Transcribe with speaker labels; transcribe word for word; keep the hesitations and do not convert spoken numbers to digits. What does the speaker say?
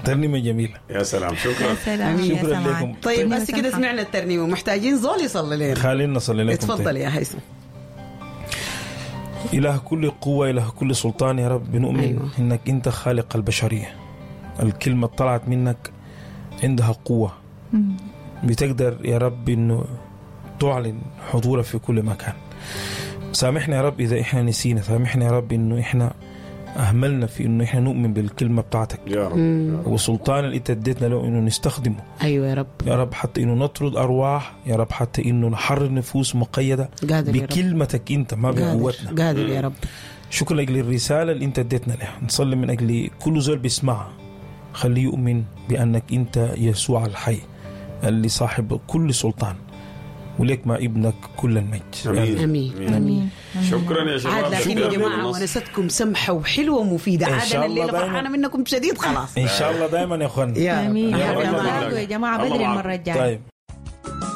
Speaker 1: ترنيمة جميلة.
Speaker 2: يا سلام، شكرا.
Speaker 3: يا سلام يا
Speaker 1: شكرا
Speaker 3: سمعان.
Speaker 1: لكم.
Speaker 4: طيب بس كده سمعنا الترنيمة، محتاجين زول يصلي لنا.
Speaker 1: خلينا نصلي لكم.
Speaker 4: اتفضل
Speaker 1: طيب.
Speaker 4: يا هيثم.
Speaker 1: إله كل قوة، إله كل سلطان، يا رب بنؤمن
Speaker 4: أيوة.
Speaker 1: إنك أنت خالق البشرية. الكلمة طلعت منك عندها قوة، بتقدر يا رب إنه تعلن حضورك في كل مكان. سامحنا يا رب إذا إحنا نسينا، سامحنا يا رب إنه إحنا أهملنا في إنه إحنا نؤمن بالكلمة بتاعتك
Speaker 2: يا رب، يا رب.
Speaker 1: والسلطان اللي أنت اديتنا له إنه نستخدمه
Speaker 4: ايوه يا رب.
Speaker 1: يا رب، حتى إنه نطرد أرواح يا رب، حتى إنه نحرر نفوس مقيدة
Speaker 4: قادر يا رب.
Speaker 1: بكلمتك أنت، ما بقوتنا.
Speaker 4: قادر قادر يا رب.
Speaker 1: شكرا لاجل الرسالة اللي انت اديتنا لها. نصلي من اجل كل زول بيسمعها، خليه يؤمن بانك انت يسوع الحي اللي صاحب كل سلطان، ولك مع ابنك كل المجد.
Speaker 2: امين.
Speaker 4: امين.
Speaker 3: امين.
Speaker 2: شكرا يا شباب.
Speaker 4: عاد لكن يا
Speaker 2: شكراً
Speaker 4: جماعة
Speaker 2: للنص.
Speaker 4: ونستكم سمحه وحلوه ومفيدة.
Speaker 1: إن
Speaker 4: عاد
Speaker 1: شاء
Speaker 4: انا
Speaker 1: الله
Speaker 4: الليلة
Speaker 1: دايماً.
Speaker 4: فرحانة منكم شديد خلاص.
Speaker 1: ان شاء الله دائما يا اخوان.
Speaker 4: يا رب.
Speaker 3: امين
Speaker 2: يا
Speaker 3: يا
Speaker 2: رب.
Speaker 3: رب.
Speaker 2: الله
Speaker 3: يا جماعة
Speaker 2: الله
Speaker 3: بدري
Speaker 2: معكم.
Speaker 3: المرة الجاية.
Speaker 1: طيب.